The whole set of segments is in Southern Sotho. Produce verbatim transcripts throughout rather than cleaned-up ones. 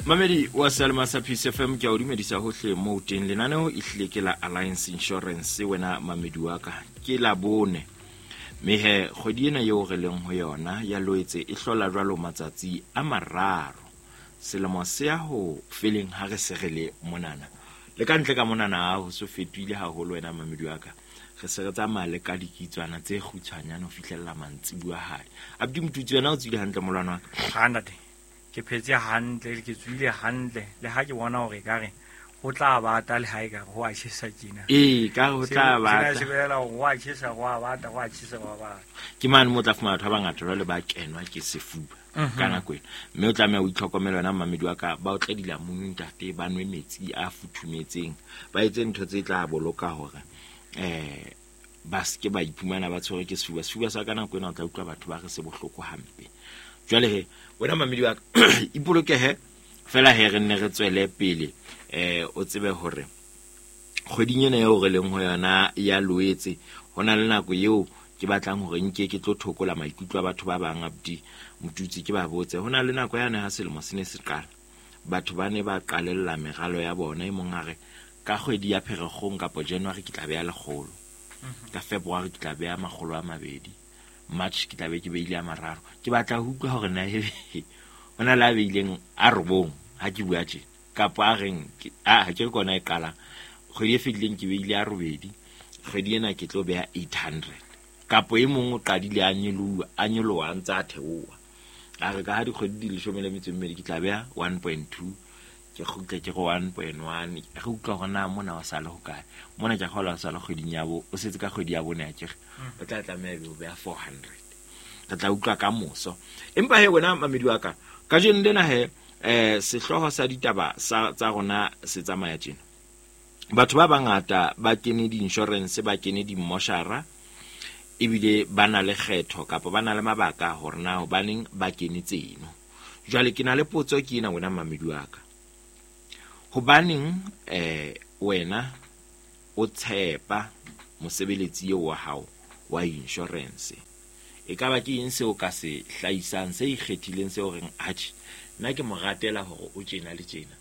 Mamedi wa Salma sa Peace F M, ke a o dumedisa hohle moo teng. Lenaneo e hlile ke la Alliance Insurance, wena mamedi wa ka, ke la bone. Mme he kgwedi ena eo re leng ho yona ya Loetse e hlola jwalo matsatsi a mararo. Selemo se ya ho feleng ha re se re le monana. Le ka ntle ka monana ha ho so fetohile haholo wena mamedi wa ka. Re se re tsamaya le ka dikitswana tse kgutshwanyane ho fihlella mantsibuya hadi. Abdi Motutsi, wena o tswile hantle molwana wa ka? Ha ntate, ke phetse hantle, ke tswile hantle. Le ha ke bona hore ekare ho tla bata, le ha ekare ho a tjhesa tjena. Ee, ka ho tla Sena bata. se bolela hore ho a tjhesa, ho a bata, ho a tjhesa, ho a bata. Ke mane mo tla fumana batho ba bangata jwale ba kenwa ke sefuba Mhm. ka nako ena. Mme o tlameha o itlhokomele wena mamedi wa ka, ba o tle dilamunu ntate, ba nwe metsi a futhumetseng, ba etse ntho tse tla boloka hore, eh, ba se ke ba iphumana ba tshwerwe ke sefuba. Sefuba sa ka nako ena o tla utlwa batho ba re se bohloko hampe. Jwale he, wena mamedi wa ka, ipolokehe fela he, re nne re tswele pele. Eh, o tsebe hore kgweding ena eo re leng ho yona ya Loetse, ho na le nako eo ke batlang hore nke ke tlo thokola maikutlo a batho ba bang, Abdi Motutsi, ke ba botse. Ho na le nako yane ha selemo se ne se qala, batho ba ne ba qalella meralo ya bona. E mong a re ka kgwedi ya Pherekgong kapa January ke tla beha lekgolo, Mhm. ka February ke tla beha makgolo a mabedi, March ke tla be ke beile a mararo. Ke batla ho utlwa hore na ebe ho na le a beileng a robong ha ke bua tjena, kapa a reng ke, a, ha ke re kona e qalang. Kgwedi e fetileng ke beile a robedi, kgwedi ena ke tlo beha eight hundred. Kapo e mong o qadile a nyoloha, a nyoloha a ntse a theoha. A re ka ha dikgwedi di leshome le metso e mmedi ke tla beha one point two, ke kgutle ke re one point one. Re utlwa hore na mona wa sale hokae. Mona ke a kgolwa wa sale kgweding ya bo, o setse ka kgwedi ya bone akere. Mm. O tla tlameha ebe o beha four hundred. Re tla utlwa ka moso. Empa he wena mamedi wa ka, kajeno lena he, eh, sehlooho sa ditaba sa, tsa rona se tsamaya tjena. Batho ba bangata ba kene di-insurance, ba kene di-mmoshara, ebile ba na le kgetho kapa ba na le mabaka hore na hobaneng ba kene tseno. Jwale ke na le potso ke ena wena mamedi wa ka. Hobaneng, eh, wena o tshepa mosebeletsi eo wa hao wa insurance? E ka ba ke eng seo ka se hlahisang se ikgethileng seo reng atjhe nna ke mo ratela hore o tjena le tjena?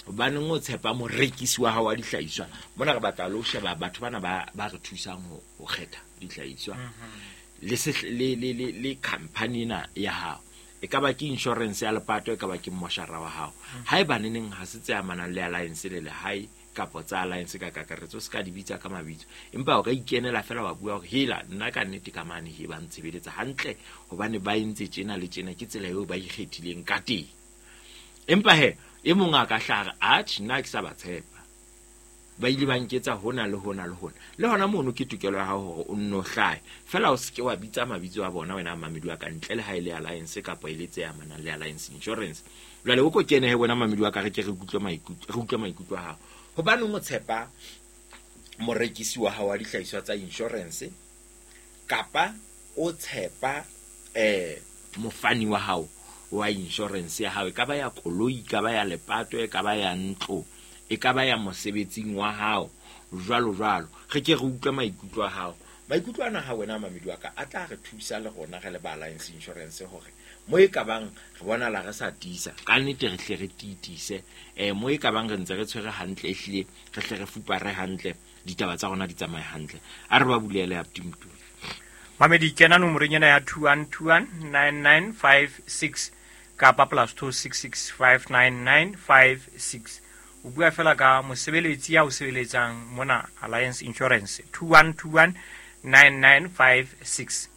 Hobaneng o tshepa morekisi wa hao wa dihlahiswa? Mona re batla le ho sheba batho bana ba, ba re thusang ho, ho kgetha dihlahiswa. Mhm. Le se, le, le, le, le company ena ya hao. E ka ba ke insurance ya lepato, e ka ba ke mmoshara wa hao. Mhm. Haeba neneng ha se tse amanang le Alliance le lehae kapa tsa Alliance ka kakaretso, se ka di bitsa ka mabitso. Empa o ka ikenela fela wa bua hore hela nna ka nnete ka mane he ba ntshebeletsa hantle hobane ba entse tjena le tjena, ke tsela eo ba ikgethileng ka teng. Empa he e mong a ka hlaha re, atjhe nna ke sa ba tshepa, ba ile ba nketsa hona le hona le hona. Le hona mono ke tokelo ya hao hore o nno hlahe. Fela o se ke wa bitsa mabitso a bona wena mamedi wa ka, ntle le ha e le Alliance kapa e le tse amanang le Alliance Insurance. Jwale o ko kene he wena mamedi wa ka, re ke re utlwe maikutlo, re utlwe maikutlo a hao. Hobaneng o tshepa morekisi wa hao wa dihlahiswa tsa insurance kapa o tshepa, eh, mofani wa hao wa insurance ya hao, e ka ba ya koloi, e ka ba ya lepato, e ka ba ya ntlo, e ka ba ya mosebetsing wa hao, jwalo jwalo. Re ke re utlwe maikutlo a hao. Maikutlo ana ha wena mamedi wa ka a tla re thusa le rona re le ba Alliance Insurance hore mo e ka bang re bonala re sa tiisa, ka nnete re hle re tiitise. Eh, mo e ka bang re ntse re tshwere hantle, ehlile re hle re fupare hantle, ditaba tsa rona di tsamaye hantle. A re ba bulele Abdi Motutsi. Mamedi, kena nomorong ena ya two one two one nine nine five six kapa plus two six six five nine nine five six. O bua fela ka mosebeletsi ya o sebeletsang mona Alliance Insurance, two one two one nine nine five six.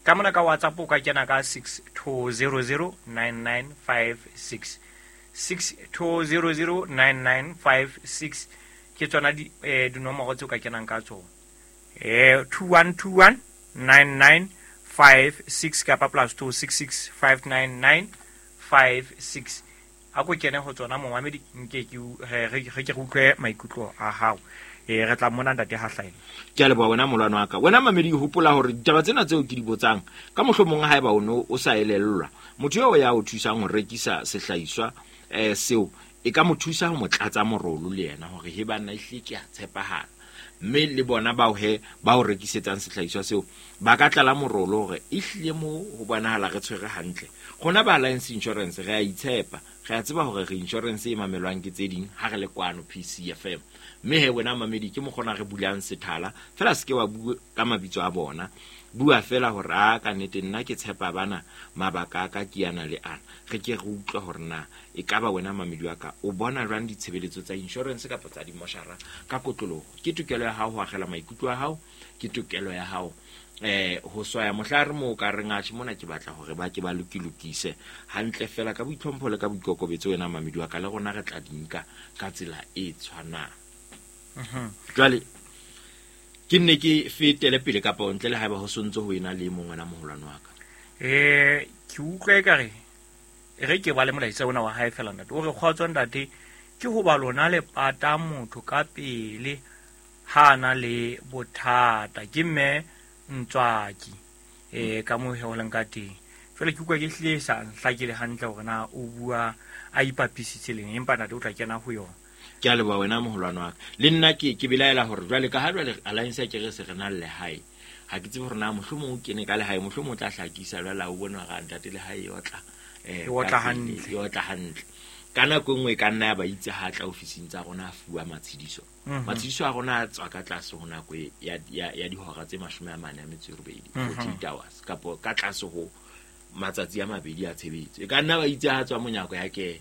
Ka mona ka WhatsApp o ka kena ka six two zero zero nine nine five six. six two zero zero nine nine five six ke tsona di, eh, dinomoro tseo ka kenang ka tsona. Eh, two one two one nine nine five six kapa plus two six six five nine nine five six. A ko kene ho tsona momamedi, nke ke u-, re, re, re ke re utlwe maikutlo a hao. Eh, re tla mona ntate ha hlahella. Ke a leboha wena molwana wa ka. Wena mamedi, hopola hore ditaba tsena tseo ke di botsang, ka mohlomong haeba o no o sa elellwa, motho eo ya o thusang ho rekisa sehlahiswa, eh, seo, e ka mo thusa ho mo tlatsa morolo le yena hore he banna ehlile ke a tshepahala. Mme le bona bao he ba o rekisetsang sehlahiswa seo ba ka tlala morolo hore ehlile mo ho bonahala re tshwere hantle. Rona ba Alliance Insurance re a itshepa, Re a tseba hore re insurance e mamelwang ke tse ding ha re le kwano P C F M. Mme he wena mamedi ke mokgona re bulang sethala fela se ke wa bua ka mabitso a bona. Bua fela hore a ka nnete nna ke tshepa bana mabaka a ka ke yana le ana. Re ke re utlwe hore na e ka ba wena mamedi wa ka o bona jwang ditshebeletso tsa insurance kapa tsa dimoshara ka kotloloho. Ke tokelo ya hao ho akgela maikutlo a hao, ke tokelo ya hao eh ho swaya mohla re mo ka reng atjhe mona ke batla hore ba ke ba lokilokise hantle fela ka boitlhompho le ka boikokobetso wena mamedi wa ka, le rona re tla di nka ka tsela e tshwanang. Jwale ke nne ke fetele pele kapa ntle le haeba ho sontso ho ena le mong wena moholwane wa ka. Eh ke utlwa ekare re ke ba le molaetsa ona wa hae fela ntate. O re kgotso ntate ke ho ba lona le pata motho ka pele ha na le bothata ke mme Ntswaki eh ka mo heolang ka teng. Jwale ke utlwa ke hlile sa nhlakile hantle hore na o bua a ipapisitse leng, empa ntate o tla kena ho yona. Ke a leboha wena moholwane wa ka. Le nna ke ke belaela hore jwale ka ha jwale Alliance ya ke re se re na le lehae. Ha ke tsebe hore na mohlomong o kene ka lehae, mohlomong o tla hlakisa jwale o bone hore ntate lehae e otla eh E otla hantle. E otla hantle. Ka nako e nngwe e ka nna ya ba itse ha tla ofising tsa rona a fuwa matshediso. Matshediso a rona a tswa ka tlase ho nako e ya, ya, ya dihora tse mashome a mane a metso e robedi, forty-eight hours, kapo ka tlase ho matsatsi a mabedi a tshebetso. E ka nna ba itse ha tswa monyako ya kena.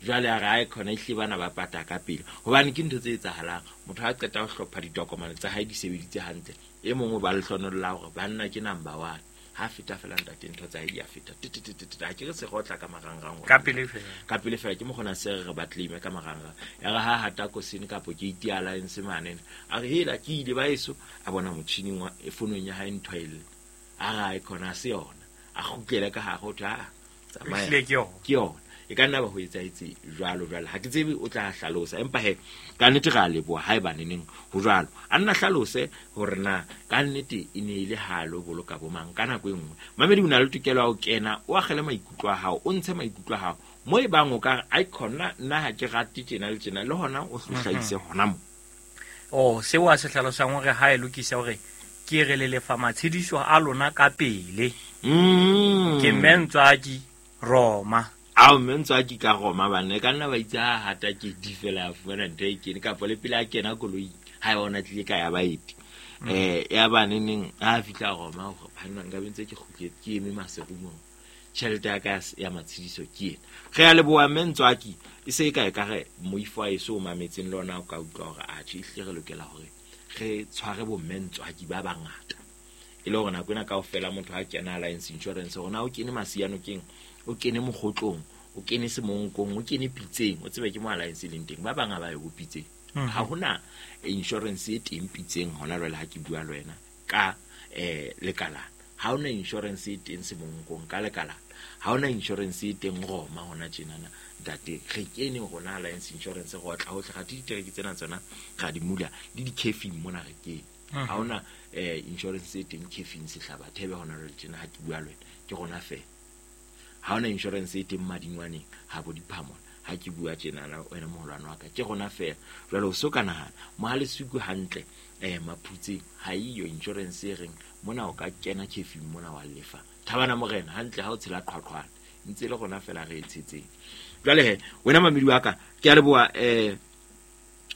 Jwale a re ae khona ehlile bana ba pata ka pele. Hobane ke ntho tse etsahalang. Motho ha qeta ho hlopha ditokomane tsa hae di sebeditse hantle, e mongwe ba lehlonolo la hore banna ke number one. Ha feta fela ntate ntho tsa hae di a feta. Te, te, te, te, te, ha ke re se rotla ka marangrang hore Ka pele fela. Ka pele fela ke mokgona se re ba claim ka marangrang. Ya re ha hata kosene kapo ke iti alliance mane. A re hela ke ile ba eso a bona motjhining wa e fonong ya hae ntho e lle. A re ae khona se yona. A kgutlele ka hare ho thwe, a tsamaya. Ehlile ke yona. Ke yona. E ka nna ba ho etsahetse jwalo jwalo. Ha ke tsebe o tla hlalosa, empa he ka nnete re a leboha haeba neneng ho jwalo. A nna hlalose hore na ka nnete e ne e le ha lo boloka bo mang ka nako e nngwe. Mamedi o na le tokelo ya ho kena, o akgele maikutlo a hao, o ntshe maikutlo a hao. Mo e bang o ka re, ai khona nna ha ke rate tjena le tjena, le hona o hlahise hona mo. Oh, seo a se hlalosang hore ha e lokisa hore ke re le lefa matshediso a lona ka pele. Mm. Ke mme Ntswaki Roma. Ao mme Ntswaki ka Roma banna, e ka nna ba itse ha hata ke di fela a fumana ntho e kene, kapa le pele a kena koloing ha e bona tlile ka ya baeti. Eh, ya ba neneng ha fihla Roma hore banna nka be ntse ke kgutletse ke eme maserumong. Tjhelete ya ka ya s-, ya matshediso ke ena. Re a leboha mme Ntswaki, e se e ka e ka re moifo wa eso o mametseng le ona o ka utlwa hore atjhe ehlile re lokela hore re tshware bo mme Ntswaki ba bangata. E le hore nako ena kaofela motho ha kena Alliance Insurance hore na o kene Masianokeng, o kene Mokgotlong, o kene Semonkong, o kene Pitseng, o tsebe ke mo Alliance e leng teng. Ba bang ha ba ye ho Pitseng. Mhm. Ha hona insurance e teng Pitseng hona jwale ha ke bua le wena ka, eh, lekalana. Ha hona insurance e teng Semonkong ka lekalana. Ha hona insurance e teng Roma hona tjenana. Ntate, re kene rona Alliance Insurance re otla hohle. Ra di ditereke tsena tsona ra di mula le di-cafe mona re kene. Mhm. Ha hona, eh, insurance e teng cafe Sehlaba Thebe hona jwale tjena ha ke bua le wena, ke rona fela. Ha hona insurance e teng Madingwaneng ha bo Diphamona ha ke bua tjenana wena moholwane wa ka, ke rona fela. Jwale o so ka nahana Mohalesuku hantle, eh, Maphutseng ha eyo insurance e reng mona o ka kena cafe mona wa lefa. Thabana Morena hantle ha o tshela qhwaqhwana, ntse le rona fela re e tshetseng. Jwale he wena mamedi wa ka, ke a leboha, eh,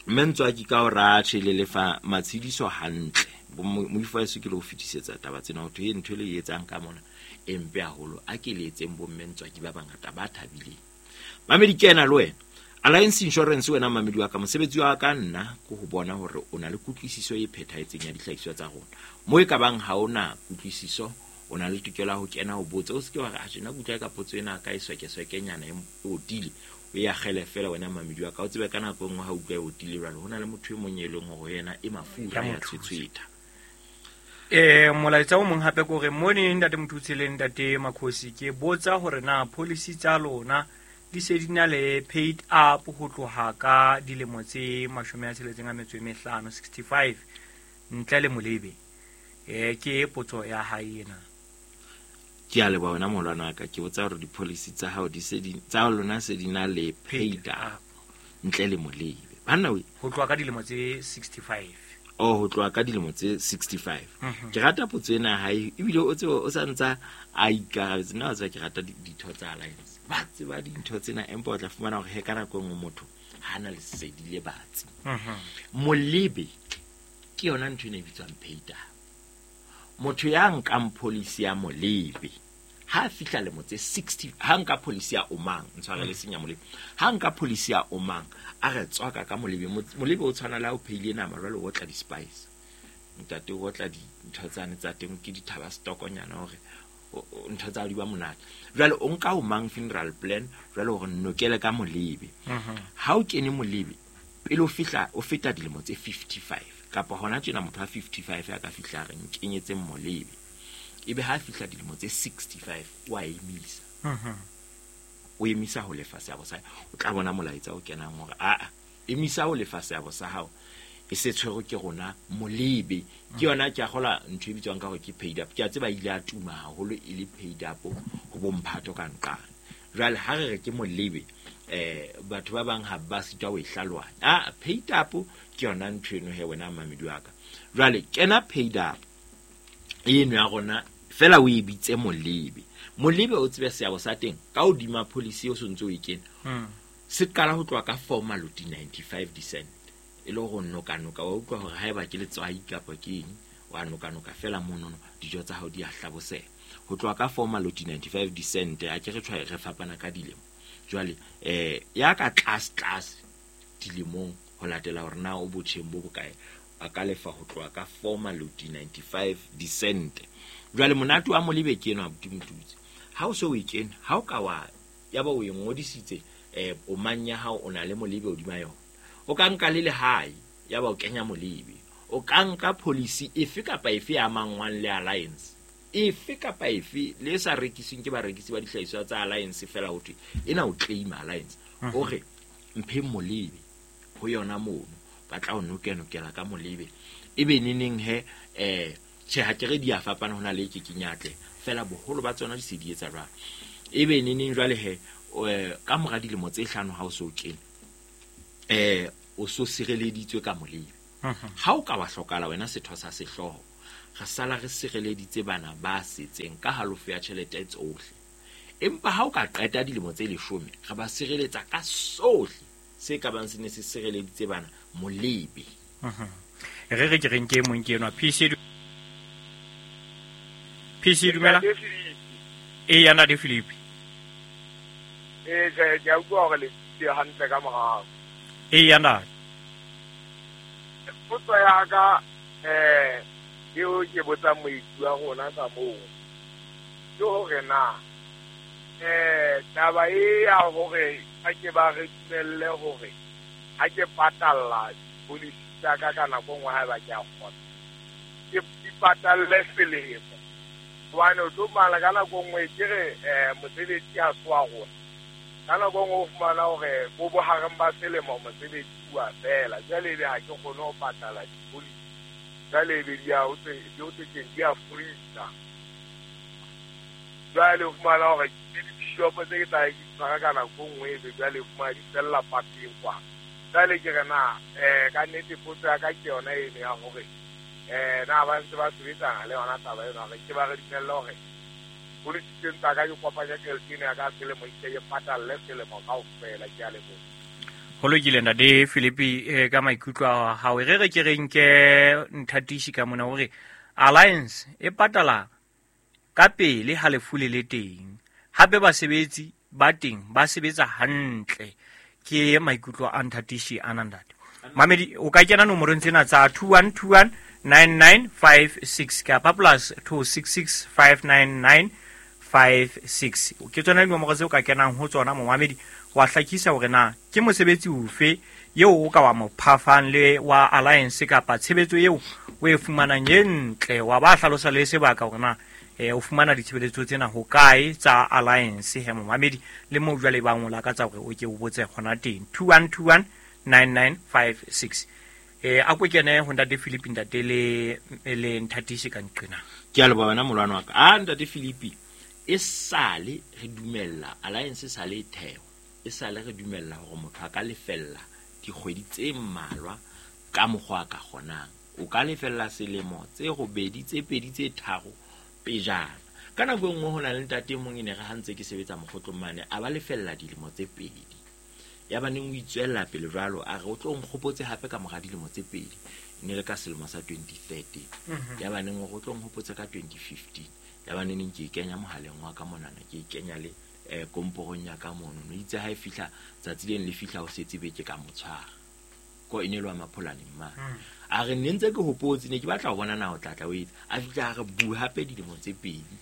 mme Ntswaki ka o ratjhe le lefa matshediso hantle. Bo mo-, moifo wa heso ke le ho fetisetsa taba tsena ho thwe ntho e le e etsang ka mona e mpe haholo. A ke le etseng bo mme Ntswaki ba bangata ba thabileng. Mamedi ke ena le wena. Alliance Insurance wena mamedi wa ka, mosebetsi wa ka nna ke ho bona hore o na le kutlwisiso e phethahetseng ya dihlahiswa tsa rona. Mo e ka bang ha ona kutlwisiso, o na le tokelo ya ho kena ho botsa. O se ke wa re, atjhe, nna ke utlwa ka potso ena ka e swekeswekenyana e otile. O e akgele fela wena mamedi wa ka. O tsebe ka nako e nngwe ha o utlwa e otile jwalo, ho na le motho e mong e leng hore yena e mafura Ya ya mo thusa. tshwetshwetha. Eh, molaetsa o mong hape ke hore mone ntate Mothusi le ntate Makhosi, ke botsa hore na policy tsa lona di se di na le paid up ho tloha ka dilemo tse mashome a tsheletseng a metso e mehlano, sixty-five, ntle le molebe. Eh, ke potso ya hae ena. Ke a leboha wena moholwane wa ka. Ke botsa hore di-policy tsa hao di se di, tsa lona se di na le paid Paid up up. ntle le molebe. Banna we. Ho tloha ka dilemo tse sixty-five. Oh, ho tloha ka dilemo tse sixty-five. Mhm. Ke rata potso ena ya hae, ebile o tsebe o sa ntsa a ikarabetse. Nna wa tseba ke rata di-, ditho tsa Alliance. Ba tseba dintho tsena empa o tla fumana hore he ka nako e nngwe motho ha na lesedi le batsi. Molebe ke yona ntho ena e bitswang paid up. Motho ya nkang policy ya molebe ha a fihla lemo tse sixty, ha nka policy ya Omang, ntshware le senya molebe, ha nka policy ya Omang a re tswaka ka molebe, molebe o tshwana le ha o pheile nama jwale o tla di-spice, ntate o tla dintho tsane tsa teng ke dithaba stokonyana hore ntho tsa di ba monate. Jwale o nka Omang funeral plan jwale hore nokele ka molebe. Ha o kene molebe pele o fihla o feta dilemo tse fifty-five kapa hona tjena motho wa fifty-five a ka fihla re nkenyetse molebe, ebe ha fihla dilemo tse sixty-five o a emisa. O emisa ho lefa seabo sa, o tla bona molaetsa o kenang hore a a emisa ho lefa seabo sa hao e se tshwerwe ke rona molebe. Ke yona ke a kgola ntho e bitswang ka hore ke paid up. Ke a tseba ile a tuma haholo e le paid up ho bomphato ka nqane. Jwale ha re re ke molebe eh batho ba bang ha ba sitwa ho e hlalohanya. Ah, paid up ke yona ntho eno he wena mamedi wa ka. Jwale kena paid up eno ya rona fela o e bitse molebe. Molebe o tsebe seabo sa teng ka hodima policy o sontse o e kena. Se qala ho tloha ka four maloti ninety-five cent. E le hore noka noka wa utlwa hore haeba ke letswai kapa ke eng wa noka noka fela monono dijo tsa hao di a hlaboseha. Ho tloha ka four maloti ninety-five cent a ke re tshwae re fapana ka dilemo. Jwale eh ya ka tlase tlase dilemong ho latela hore na o botjheng bo bokae a ka lefa ho tloha ka four maloti ninety-five cent. Jwale monate wa molebe ke eno abuti Motutsi. Ha o so o e kene, ha o ka wa ya ba o e ngodisitse eh o mang ya hao o na le molebe hodima yona. O ka nka le lehae ya ba o kenya molebe. O ka nka policy efe kapa efe ya mangwang le Alliance. Efe kapa efe le sa rekisweng ke barekisi ba dihlahiswa tsa Alliance fela ho thwe ena o claim Alliance. O re mphe molebe ho yona mono ba tla o nokenokela ka molebe. Ebe neneng he eh tjhe ha ke re di a fapana hona le ke kenyatle fela boholo ba tsona di se di etsa jwalo. Ebe neneng jwale he ka mora dilemo tse hlano ha o so kene eh o so sireleditswe ka molebe. Ha o ka wa hlokala wena setho sa sehlooho re sala re sireleditse bana ba setseng ka halofo ya tjhelete tsohle. Empa ha o ka qeta dilemo tse leshome re ba sireletsa ka sohle se ka bang se ne se sireleditse bana molebe. Re re ke reng ke mong ke enwa P C P C dumela. E yana de Philippe. Eh ke ke a utlwa hore le le hantle ka morao. E yana. Potso ya ka eh eo ke botsa moithuti wa rona ka moo ke hore na eh taba e ya hore ha ke ba re dumelle hore ha ke patalla policy tsa ka ka nako nngwe haeba ke a kgona ke di patalle selemo hobane o tlo mala ka nako nngwe ke re eh mosebetsi ha se wa rona ka nako nngwe o fumana hore bo bohareng ba selemo mosebetsi wa fela jwale ebe ha ke kgone ho patala dipolisi jwale ebe di a ho tse di ho tse di a freeza jwale o fumana hore ke di-shop tse ke tla ke tshwara ka nako nngwe ebe jwale o fumana di fella pateng kwa. Jwale ke re na eh ka nnete potso ya ka ke yona eno ya hore eh na ba ntse ba sebetsana le yona taba eno hore ke ba re dumelle hore policy tsa ka ke kopanya tjhelete ena ya ka selemo e ke patalle selemo kaofela. Ke a leboha. Ho lokile ntate Philippe ka maikutlo a hao. Re re ke re nke Nthatishi ka mona hore Alliance e patala ka pele ha lefu le le teng. Hape basebetsi ba teng ba sebetsa hantle. Ke maikutlo a Nthatishi ana ntate. Mamedi o ka kena nomorong tsena tsa two one two one nine nine five six kapa plus two six six five nine nine five six. Ke tsona dinomoro tseo ka kenang ho tsona momamedi wa hlakisa hore na ke mosebetsi ofe eo o ka wa mo phafang le wa Alliance kapa tshebetso eo o e fumanang e ntle wa ba hlalosa le sebaka hore na eh o fumana ditshebeletso tsena ho kae tsa Alliance he momamedi le mo jwale ba ngola ka tsa hore o ke o botse hona teng two one two one nine nine five six. Eh a ko kene ho ntate Philippe ntate le le Nthatishi ka nqena. Ke a leboha wena molwana wa ka. A ntate Philippe e sale re dumella Alliance e sale e theo e sale re dumella hore motho a ka lefella dikgwedi tse mmalwa ka mokgwa a ka kgonang. O ka lefella selemo tse robedi tse pedi tse tharo pejana. Ka nako e nngwe ho na le ntate e mong e ne re ha ntse ke sebetsa mokgotlong mane a ba lefella dilemo tse pedi. Ya ba neng o itswella pele jwalo a re o tlo nkgopotse hape ka mora dilemo tse pedi. Ne le ka selemo sa twenty thirteen. Ya ba neng o tlo nkgopotse ka twenty fifteen. Ya ba neng ke kenya mohaleng wa ka monana ke kenya le eh komporong ya ka mono. No itse ha e fihla tsatsi leng le fihla o setse beke ka motshwara. Ko e ne lwa mapholane mma. A re ne ntse ke hopotse ne ke batla ho bona na o tlatla o etsa. A fihla a re bu hape dilemo tse pedi.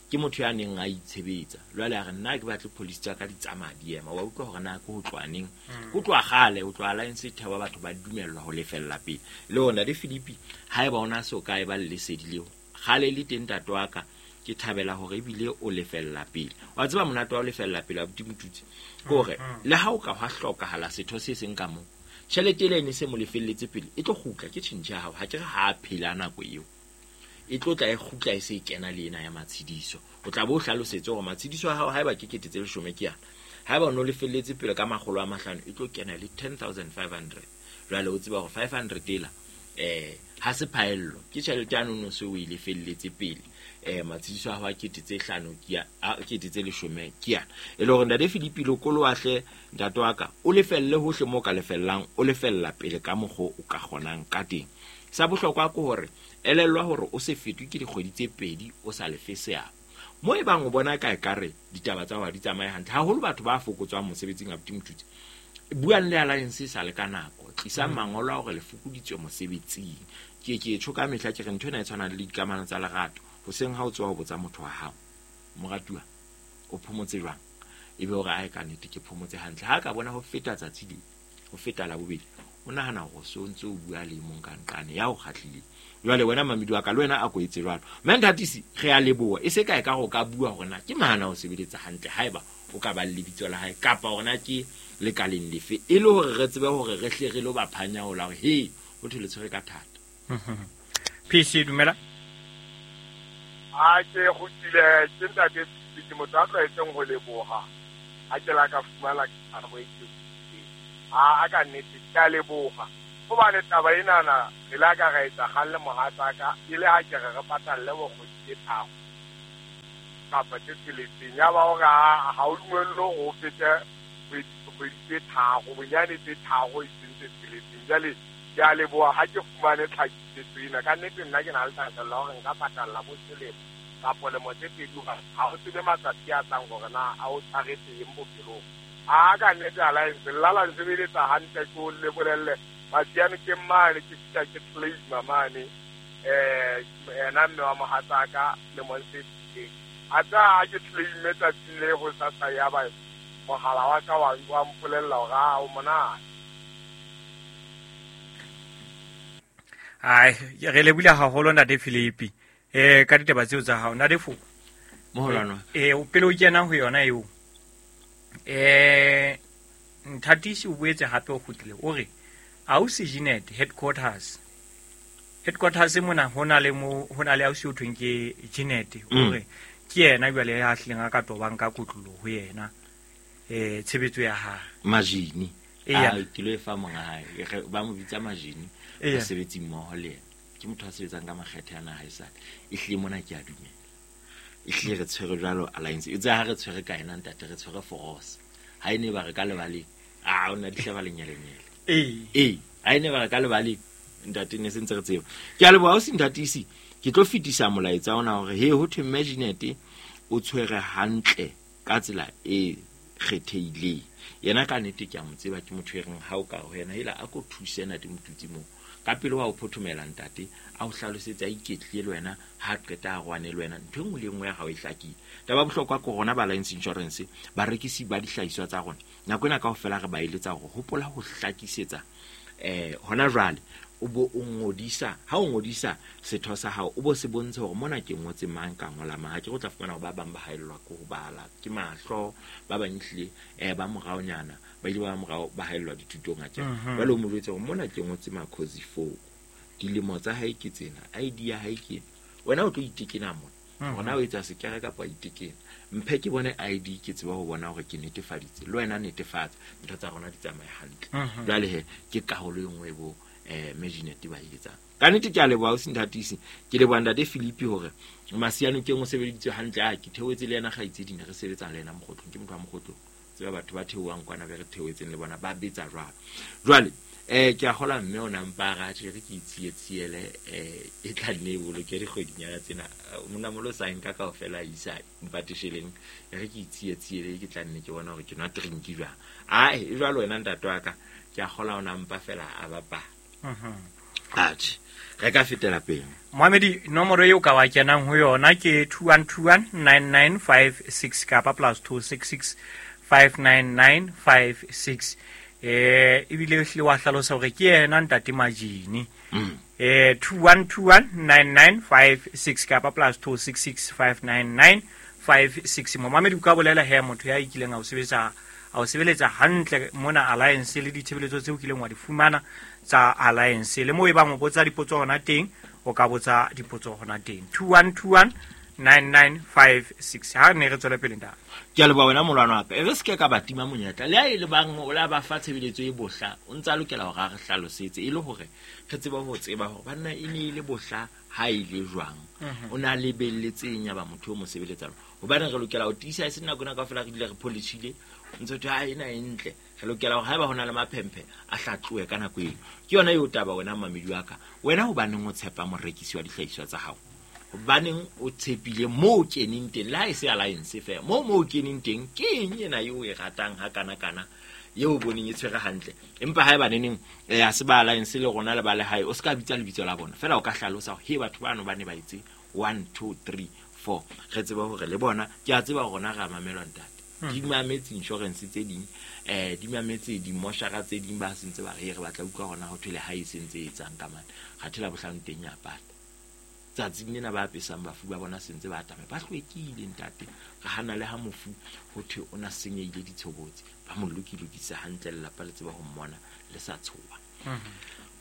Ke motho ya neng a itshebetsa. Jwale a re nna ke batle police tsa ka di tsamaya di ema. Wa utlwa hore na ke ho tlwaneng. Ho tloha kgale, ho tloha Alliance thewa batho ba dumellwa ho lefella pele. Le ona le Philippi haeba ona so kae ba le lesedi leo. Kgale le teng ntate wa ka ke thabela hore ebile o lefella pele. Wa tseba monate wa ho lefella pele abuti Motutsi. Ke hore le ha o ka hwa hlokahala setho se seng ka moo. Tjhelete ele ne se mo lefelletse pele e tlo kgutla ke tjhentjhe ya hao ha ke re ha a phela nako eo. E tlo tla e kgutla e se e kena le ena ya matshidiso. O tla bo hlalosetse hore matshidiso a hao haeba ke kete tse leshome ke yana. Haeba o no lefelletse pele ka makgolo a mahlano e tlo kena le ten thousand five hundred. Jwale o tseba hore five hundred ela eh ha se phaello ke tjhelete ya no se o e lefelletse pele. Eh matshidiso a hao a kete tse hlano ke a kete tse leshome ke yana. E le hore ntate Philippi Lokoloahle ntate wa ka o lefelle hohle mo ka lefellang o lefella pele ka mokgo o ka kgonang ka teng. Sa bohlokwa ke hore elellwa hore o se fetwe ke dikgwedi tse pedi o sa lefe seabo. Mo e bang o bona ka ekare ditaba tsa hao di tsamaye hantle haholo batho ba fokotswang mosebetsing abuti Motutsi. Buang le Alliance sa le ka nako, tlisang mangolo a hore le fokoditswe mosebetsing. Ke ke tjho ka mehla ke re ntho ena e tshwana le dikamano tsa lerato. Hoseng ha o tswa ho botsa motho wa hao, moratuwa o phomotse jwang? Ebe hore ae ka nnete ke phomotse hantle. Ha ka bona ho feta tsatsi le ho feta la bobedi, o nahana hore so ntse o bua le mong ka nqane ya o kgahlile. Jwale wena mamedi wa ka le wena a ko etse jwalo. Mme Nthatisi re a leboha e se kae ka go ka bua hore na ke mahana o sebeletsa hantle haeba o ka ba le lebitso la hae kapa hore na ke lekaleng lefe e le hore re tsebe hore re hle re lo ba phanya hola hore he ho thole tshwere ka thata. P C dumela. A ke kgutlile ke ntate ke motho a tlwaetseng ho leboha. Ha ke la ka fumana karabo e ke a a ka nnete ke a leboha. Hobane taba enana re la ka ra etsa kgalle mohatsa ka e le ha ke re re patalle bokgwedi tse tharo kapa tse tsheletseng. Ya ba hore ha o dumellwe hore o fete kgwedi tse tharo bonyane tse tharo e seng tse tsheletseng. Jwale ke a leboha ha ke fumane tlhakisetso ena. Ka nnete nna ke na le thahasello ya hore nka patalla bo selemo kapa lemo tse pedi hobane ha o tsebe matsatsi a tlang hore na a o tshwaretse eng bophelong. A ka nnete Alliance nna la nsebeletsa hantle ke o le bolelle. Masiane ke mane ke fihla ke claima mane eh ena mme wa mohatsaka lemong se fetileng. A tla ha ke claime tsatsing le ho sasa ya ba mohala wa ka wa wa mpolella hore a o monate. Ai re lebile haholo ntate Philippi eh ka ditaba tseo tsa hao ntate Foko. Moholwana. Eh o pele o kena ho yona eo. Eh Nthatisi o boetse hape o kgutlile o re ausi Jeanette headquarters. Headquarters mona hona le mo hona le ausi o thweng ke Jeanette o re ke yena jwale ya hlileng a ka tobang ka kotlolo ho yena eh tshebetso ya hae. Majini. A ke lo e fa monga hae ba mo bitsa Majini ba sebetsi mmoho le yena. Ke motho a sebetsang ka makgethe ana hae sale. E hlile mona ke a dumela. E hlile re tshwere jwalo Alliance. E tsa ha re tshwere ka ena ntate re tshwere force. Ha ene ba re ka lebaleng. A ona di hlaba lenyelenyele. Eh. Eh, ha ene ba re ka lebaleng ntate ne sentse re tseba. Ke a leboha o se Nthatisi. Ke tlo fetisa molaetsa ona hore he ho thwe Maginete o tshwere hantle ka tsela e kgethehileng. Yena ka nnete ke a mo tseba ke motho e reng ha o ka ho yena hela a ko thuse ntate Motutsi mo. Ka pele wa o phothomela ntate a o hlalosetsa a iketlile le wena ha qeta a rwane le wena ntho e nngwe le nngwe ya hao e hlakile. Taba bohlokwa ke rona ba Alliance Insurance barekisi ba dihlahiswa tsa rona nako ena kaofela re ba eletsa hore hopola ho hlakisetsa eh hona jwale o bo o ngodisa ha o ngodisa setho sa hao o bo se bontshe hore mona ke ngotse mang ka ngola mang. Ha ke go tla fumana hore ba bang ba haellwa ke ho bala ke mahlo ba bang ehlile eh ba moraonyana ba ile ba morao ba haellwa dithutong a tje. Jwale o mo jwetse hore mona ke ngotse Makhosi Foko dilemo tsa hae ke tsena I D ya hae ke wena o tlo itekena mona hona o etsa sekere kapa itekena mphe ke bone I D ke tseba ho bona hore ke netefaditse le wena netefatsa ntho tsa rona di tsamaye hantle. Jwale he ke karolo e nngwe bo eh Majinet ba e etsang. Ka nnete ke a leboha o senthatisi, ke leboha ntate Philip hore Masiano ke o sebeditse hantle, a ke theoetse le yena kgaitsedi ne re sebetsa le yena Mokgotlong, ke motho wa Mokgotlong. Tseba batho ba theohang kwana be re theoetseng le bona ba betsa jwalo. Jwale eh ke a kgola mme o nampa ra tjhe re ke itsietsiele eh e tla nne e boloke dikgwedinyana tsena monna molo sa nka kaofela a isa mpatesheleng re ke itsietsiele ke tla nne ke bona hore ke nwa drink jwang. Ae e jwalo wena ntate wa ka ke a kgola o nampa fela a bapala. Mhm. Atjhe re ka fetela pele. Mohamedi, nomoro eo ka wa kenang ho yona ke two one two one nine nine five six kapa plus two six six five nine nine five six. Eh ebile hle wa hlalosa hore ke yena ntate Majini. Mm. Eh two one two one nine nine five six kapa plus two six six five nine nine five six. Mohamedi o ka bolela he motho ya ikileng a o sebetsa a o sebeletsa hantle mona Alliance le ditshebeletso tseo kileng wa di fumana tsa Alliance, le mo e bang o botsa dipotso hona teng o ka botsa dipotso hona teng two one two one nine nine five six. Ha ne re tswele pele ntate. Ke a leboha wena molwana wa ka. E re se ke ka ba tima monyetla. Le ha e le bang o la ba fa tshebeletso e bohla, o ntsa lokela hore a re hlalosetse e le hore re tsebe ho tseba hore banna e ne e le bohla ha e le jwang. Mhm. O na lebelletseng ya ba motho o mo sebeletsang. Hobane re lokela ho tiisa e se nako ena kaofela re dule re polishile. Ntse thwe ha ena e ntle. Re lokela hore haeba hona le maphemphe a hlatluwe ka nako eo. Ke yona eo taba wena mamedi wa ka. Wena hobaneng o tshepa morekisi wa dihlahiswa tsa hao? Hobaneng o tshepile moo o keneng teng, le ha e se Alliance feela, moo moo o keneng teng ke eng ena eo o e ratang ha kana kana eo o boneng e tshwere hantle? Empa haeba neneng eh ha se ba Alliance le rona le ba lehae, o se ka bitsa lebitso la bona feela, o ka hlalosa hore he batho bano ba ne ba etse one two three four, re tsebe hore le bona. Ke a tseba hore rona re a mamelwa ntate. Hmm. Di mametse insurance tse ding, eh di mametse dimoshara tse ding, ba sentse ba re re batla utlwa hona ho thwe le ha e sentse e etsang ka mane. Kgathela bohlano teng ya pata. Tsatsing lena ba apesang bafu ba bona sentse ba atame, ba hlwekile ntate. Re hana le ha mofu ho thwe o na senyehile ditshobotsi, ba mo lokilokisa hantle, lelapa le tseba ho mmona le sa tshoha. Mhm.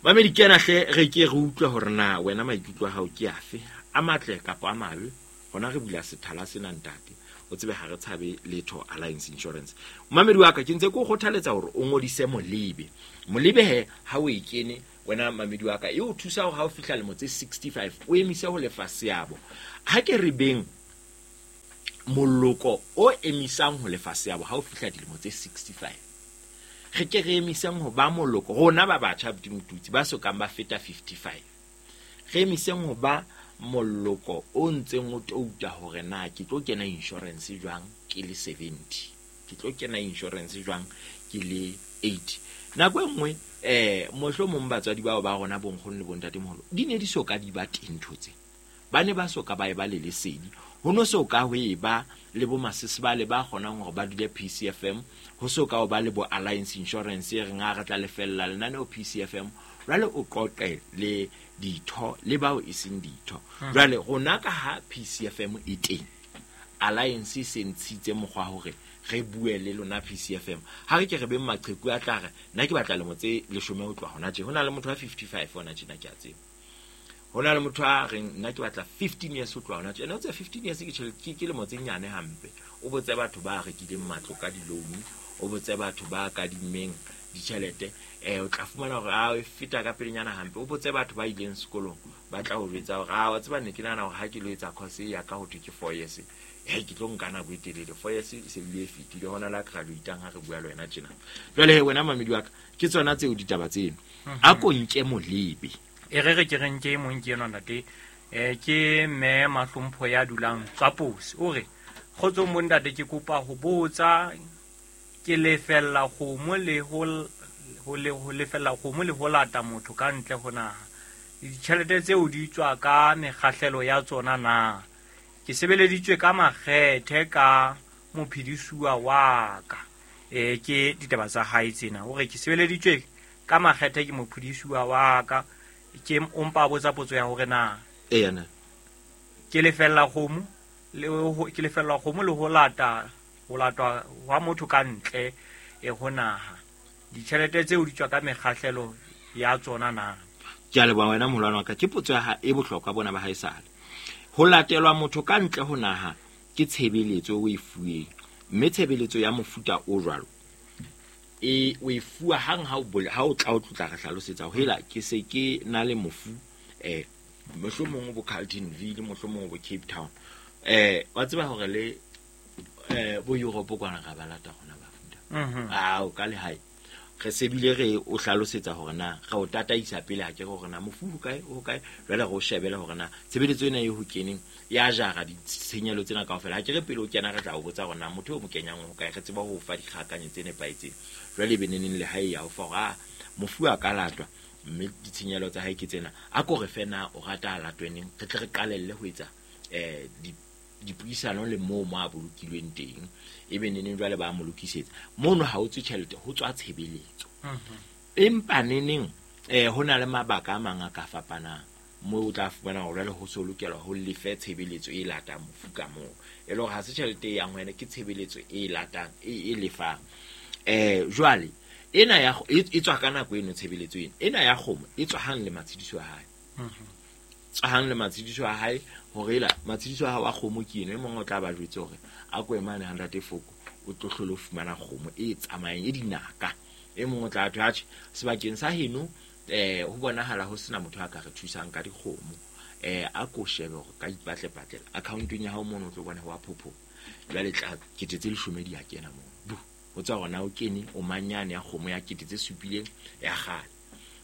Mamedi kena hle re ke re utlwe hore na wena maikutlo a hao ke afe, a matle kapa a mabe. Hona re bula sethala sena ntate, o tsebe ha re tshabe letho Alliance Insurance. Mamedi wa ka, ke ntse ke o kgothaletsa hore o ngodise Molebe. Molebe he ha o e kene wena mamedi wa ka, e o thusa hore ha o fihla lemo tse sixty-five o emise ho lefa seabo. Ha ke re beng moloko o emisang ho lefa seabo ha o fihla dilemo tse sixty-five, re ke re emiseng ho ba moloko rona ba batjha Motutsi ba sokang ba feta fifty-five, re emiseng ho ba moloko o ntseng o touta hore na ke tlo kena insurance jwang ke le seventy, ke tlo kena insurance jwang ke le eighty. Nako e nngwe eh mohlomong batswadi bao ba rona bonkgono le bontatemoholo di ne di soka di ba teng ntho tse, ba ne ba soka ba e ba le lesedi, ho no soka ho e ba le bo masesebale ba kgonang hore ba dule P C F M, ho soka ho ba le bo Alliance Insurance e reng ha re tla lefella lenaneo P C F M. Jwale o qoqe le ditho le bao e seng ditho. Hmm. Jwale rona ka ha P C F M e teng, Alliance e se ntshitse mokgwa hore re bue le lona P C F M. Ha re ke re beng maqheku a tla re nna ke batla lemo tse leshome ho tloha hona tje. Ho na le motho wa fifty-five hona tjena ke a tseba. Ho na le motho a reng nna ke batla fifteen years ho tloha hona tje. Ene o tse fifteen years ke tjhelete, ke, ke lemo tse nyane hampe. O botse batho ba rekileng matlo ka di-loan, o botse batho ba kadimmeng ditjhelete, eh o tla fumana hore a e feta ka pelenyana hampe. O botse batho ba ileng sekolong, ba tla o jwetsa hore a wa tseba ne ke nahana hore ha ke lo etsa course ya ka ho thwe ke four years, hei ke tlo nka nako e telele. Four years e se bile e fetile, hona la graduate-ang ha re bua le wena tjena. Jwale he wena mamedi wa ka, ke tsona tseo ditaba tseno. Mhm. A ko nke Molebe. E re re ke re nke e mong ke enwa ntate, eh, ke mme Mahlompho ya dulang Tswapose. O re, kgotsong bo ntate, ke kopa ho botsa, ke lefella kgomo le ho l-, ho le, ho lefella kgomo le ho lata motho ka ntle ho naha. Ditjhelete tseo di tswa ka mekgahlelo ya tsona na? Ke sebeleditswe ka makgethe ka mophedisuwa wa ka. Eh, ke ditaba tsa hae tsena. O re ke sebeleditswe ka makgethe ke mophedisuwa wa ka. Ke o mpa a botsa potso ya hore na Eya na. ke lefella kgomo le ho, ke lefella kgomo le ho lata, ho latwa hwa motho ka ntle e ho naha. Ditjhelete tseo di tswa ka mekgahlelo ya tsona na? Ke a leboha wena moholwane wa ka. Ke potso ya ha e bohlokwa bona ba haesale. Ho latelwa motho ka ntle ho naha ke tshebeletso o e fuweng, mme tshebeletso ya mofuta o jwalo E o e fuwa hang ha o bole ha o tla o tlotla re hlalosetsa ho hela ke se ke na le mofu eh mohlomong bo Carltonville, mohlomong bo Cape Town. Eh wa tseba hore le eh bo Europe kwana ra ba lata rona bafuta. Mhm. Ao ka lehae re sebile re o hlalosetsa hore na re o tataisa pele ha ke re hore na mofu ho kae ho kae, jwale re o shebele hore na tshebeletso ena e ho keneng ya jara ditshenyehelo tsena kaofela. Ha ke re pele o kena re tla o botsa hore na motho o mo kenyang ho kae, re tseba ho o fa dikgakanyo tse nepahetseng. Jwale e be neneng lehae ya o fa hore a mofu a ka latwa mme ditshenyehelo tsa hae ke tsena, a ko re fe na o rata a latwe neng, re tle re qalelle ho etsa eh di dipuisano le moo mo a bolokilweng teng, ebe neneng jwale ba mo lokisetsa mono. Ha o tswe tjhelete, ho tswa tshebeletso. Empa neneng eh ho na le mabaka a mang a ka fapanang moo o tla fumana hore jwale ho so lokelwa ho lefe tshebeletso e latang mofu ka moo, e le hore ha se tjhelete e yang ho yena, ke tshebeletso e latang e, e lefang. Eh jwale ena ya e e tswa ka nako eno tshebeletso ena ena ya kgomo e tswa hang le matshediso a hae, tswa hang le matshediso a hae hore ela matshediso a hao a kgomo ke eno. E mong o tla ba jwetse hore a ko emane hundred foko o tlo hlole o fumana kgomo e tsamayang e dinaka. E mong o tla thwe atjhe sebakeng sa heno eh ho bonahala ho sena motho a ka re thusang ka dikgomo, eh a ko shebe hore ka ipatlepatlela accountong ya hao mono o tlo bona ho a phopho jwale tla kete tse leshome di a kena moo bu ho tswa hore na o kene o manyane ya kgomo ya kete tse supileng ya kgale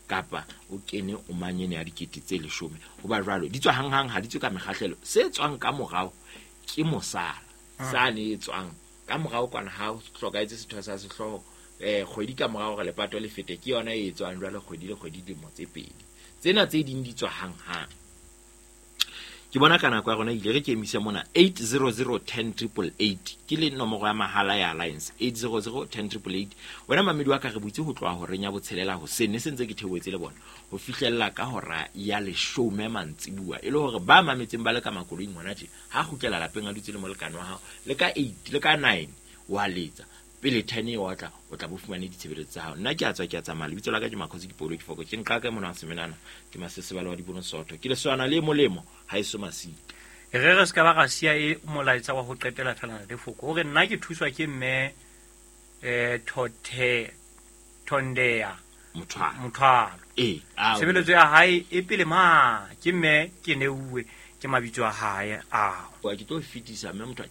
kapa o kene o manyane ya dikete tse leshome. Ho ba jwalo di tswa hanghang, ha di tswe ka mekgahlelo. Se tswang ka morao ke mosala sane e tswang ka morao kwana ha o hlokahetse setho sa sehlooho eh kgwedi ka morao hore lepato le fete, ke yona e tswang jwale kgwedi le kgwedi dilemo tse pedi. Tsena tse ding di tswa hanghang. Ke bona ka nako ya rona ile re ke emise mona. Eight zero zero ten triple eight ke le nomoro ya mahala ya Alliance, eight zero zero ten triple eight. Wena mamedi wa ka re butse ho tloha horeng ya botshelela hoseng, ne se ntse ke theohetse le bona ho fihlella ka hora ya leshome mantsibuwa, e le hore ba mametseng ba le ka makoloing hona tje ha kgutlela lapeng a dutse le molekane wa hao le ka eight le ka nine wa letsa pele ten e otla o tla bo fumane ditshebeletso tsa hao. Nna ke a tswa ke a tsamaya, lebitso la ka ke Makhosi ke Paulo ke Foko, ke nqa ka mona wa semenana ke masesebale wa dibono sotho, ke leswana le molemo ha eso masita. Re re se ka ba ra siya e molaetsa wa ho qetela fela le Foko hore nna ke thuswa ke mme eh Thothe Thondea Mothwalo. Mothwalo. Eh, ao. Tshebeletso ya hae e pele ma ke mme ke neuwe ke mabitso a hae ao. Wa ke tlo fetisa mme Mothwalo.